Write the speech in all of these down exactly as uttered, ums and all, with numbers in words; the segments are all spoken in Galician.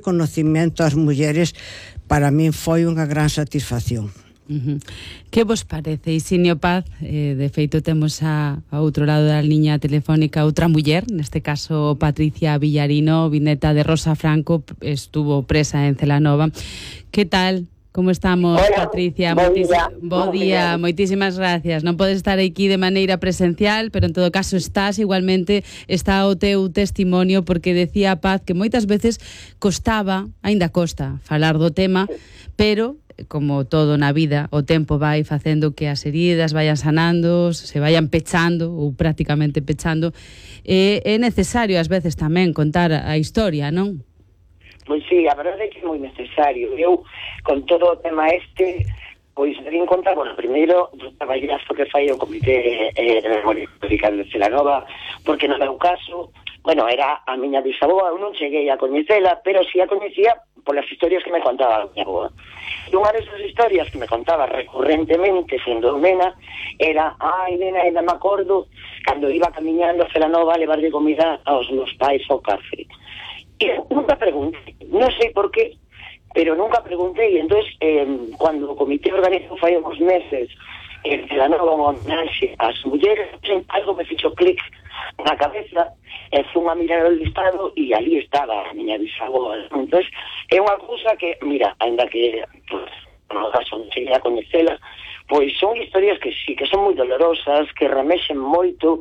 reconocimiento ás mulleres para min foi unha gran satisfacción. Uh-huh. Que vos parece, Isinio Paz? Eh, de feito temos a, a outro lado da liña telefónica outra muller, neste caso Patricia Villarino, vineta de Rosa Franco, estuvo presa en Celanova. Que tal? Como estamos, Hola, Patricia? bo día. Bo día, moitísimas gracias. Non podes estar aquí de maneira presencial, pero en todo caso estás, igualmente está o teu testimonio, porque decía a Paz que moitas veces costaba, aínda costa, falar do tema, pero como todo na vida, o tempo vai facendo que as heridas vayan sanando, se vayan pechando ou prácticamente pechando, e é necesario ás veces tamén contar a historia, non? Pois sí, a verdade é que é moi necesario. Eu, con todo o tema este, pois vim contar, bueno, primeiro, do traballazo que fai o Comité eh, de Memoria Histórica de Celanova, porque no meu caso, bueno, era a miña bisaboa, eu non cheguei a coñecela, pero sí a coñecía polas historias que me contaba a miña aboa. E unha desas historias que me contaba recurrentemente, sendo nena, era, ai, nena, ainda me acordo, cando iba camiñando a Celanova a levarle comida aos meus pais ao cárcere. E nunca preguntei, non sei por qué, pero nunca preguntei. Entón, eh, cando o comité organizou fai uns meses en Celanova unha homenaxe ás mulleres, algo me fixo clic na cabeza, e fun a mirar o listado e ali estaba a miña bisaboa. Entón, é unha cousa que, mira, ainda que pues, no caso non cheguei a coñecela, pois son historias que sí, que son moi dolorosas, que remexen moito.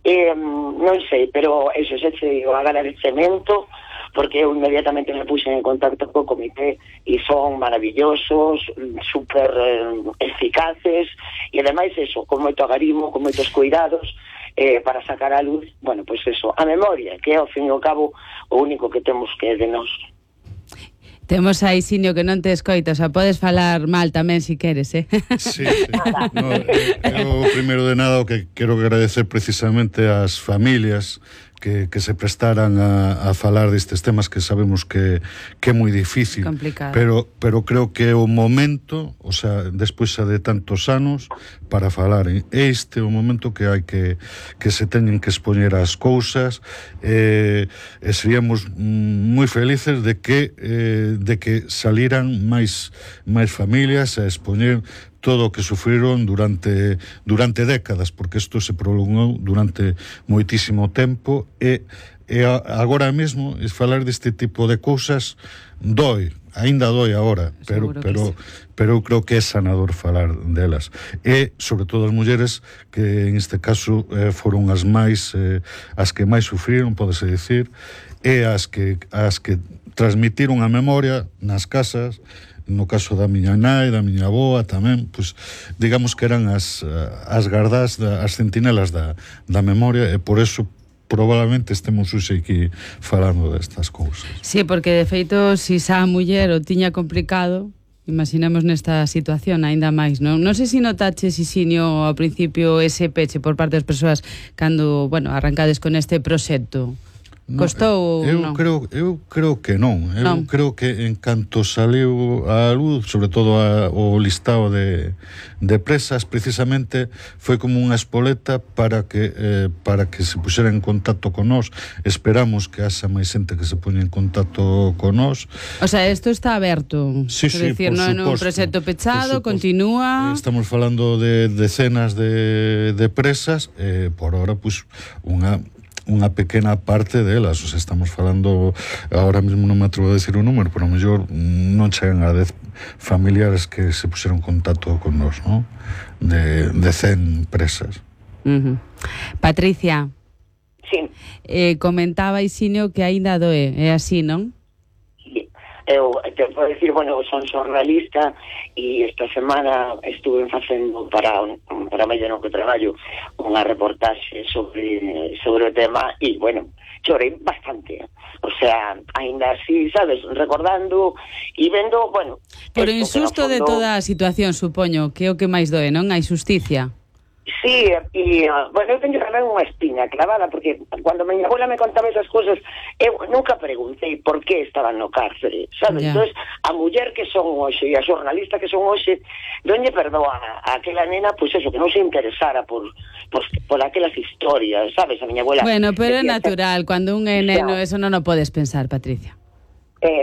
Eh, non sei, pero eso, se che o agradecemento, porque eu inmediatamente me puxen en contacto co comité e son maravillosos, super eh, eficaces, e ademais eso, con moito agarimo, con moitos cuidados, eh, para sacar a luz, bueno, pois pues eso, a memoria, que é ao fin e ao cabo o único que temos que de nós. Temos a Isinio que non te escoita, o sea, podes falar mal tamén se si queres, eh? Sí, sí. No, eu, primeiro de nada, o que quero agradecer precisamente ás familias que, que se prestaran a, a falar destes temas que sabemos que, que é moi difícil. Complicado. Pero, pero creo que é o momento, o sea, despois de tantos anos, para falar. Este é o momento que hai que, que se teñen que expoñer as cousas, eh, e seríamos moi felices de que, eh, de que saliran máis, máis familias a expoñer todo o que sufriron durante durante décadas, porque isto se prolongou durante moitísimo tempo e, e agora mesmo es falar deste tipo de cousas doi, aínda doi agora, pero pero sí. Pero eu creo que é sanador falar delas. E sobre todo as mulleres que en este caso eh, foron as máis eh, as que máis sufriron, pódese dicir, e as que as que transmitiron a memoria nas casas. No caso da miña nai, da miña avoa tamén, pois digamos que eran as, as gardás, da, as centinelas da, da memoria, e por eso probablemente estemos hoxe aquí falando destas cousas. Sí, porque de feito, se xa a muller o tiña complicado, imaginemos nesta situación aínda máis, non? Non sei se notaches, Isinio, ao principio ese peche por parte das persoas cando, bueno, arrancades con este proxecto. Costou, eu non? creo eu creo que non. Eu non. creo que en canto saliu a luz, sobre todo a, o listado de, de presas, precisamente foi como unha espoleta para que eh, para que se puxera en contacto con nós. Esperamos que haxa máis xente que se poña en contacto con nós. O sea, isto está aberto. Sí, sí, decir, por non é un proxecto pechado, continúa. Estamos falando de decenas de, de presas, eh, por ahora, pues, unha unha pequena parte delas, o sea, estamos falando, ahora mesmo non me atrevo a decir un número, pero a mellor non chegan a dez familiares que se puseron en contacto con nós, ¿no? De, de cen presas. Uh-huh. Patricia. Sí. Eh, comentaba Isinio que aínda doe, é así, non? Eu te podo decir, bueno, son xornalista e esta semana estuve facendo para para medio no que traballo unha reportaxe sobre sobre o tema e, bueno, chorei bastante. O sea, aínda así, sabes, recordando e vendo, bueno... Por o insusto fondo... de toda a situación, supoño, que é o que máis doe, non? A injusticia. Sí, e, bueno, eu teño tamén unha espiña clavada, porque cando miña abuela me contaba esas cousas, eu nunca preguntei por que estaban no cárcere, sabes? Yeah. Entón, a muller que son hoxe e a xornalista que son hoxe, non lle perdoa a aquela nena, pois pues eso, que non se interesara por, por, por aquelas historias, sabes? A miña abuela... Bueno, pero é natural, que... cando un é neno, eso non o podes pensar, Patricia. Eh,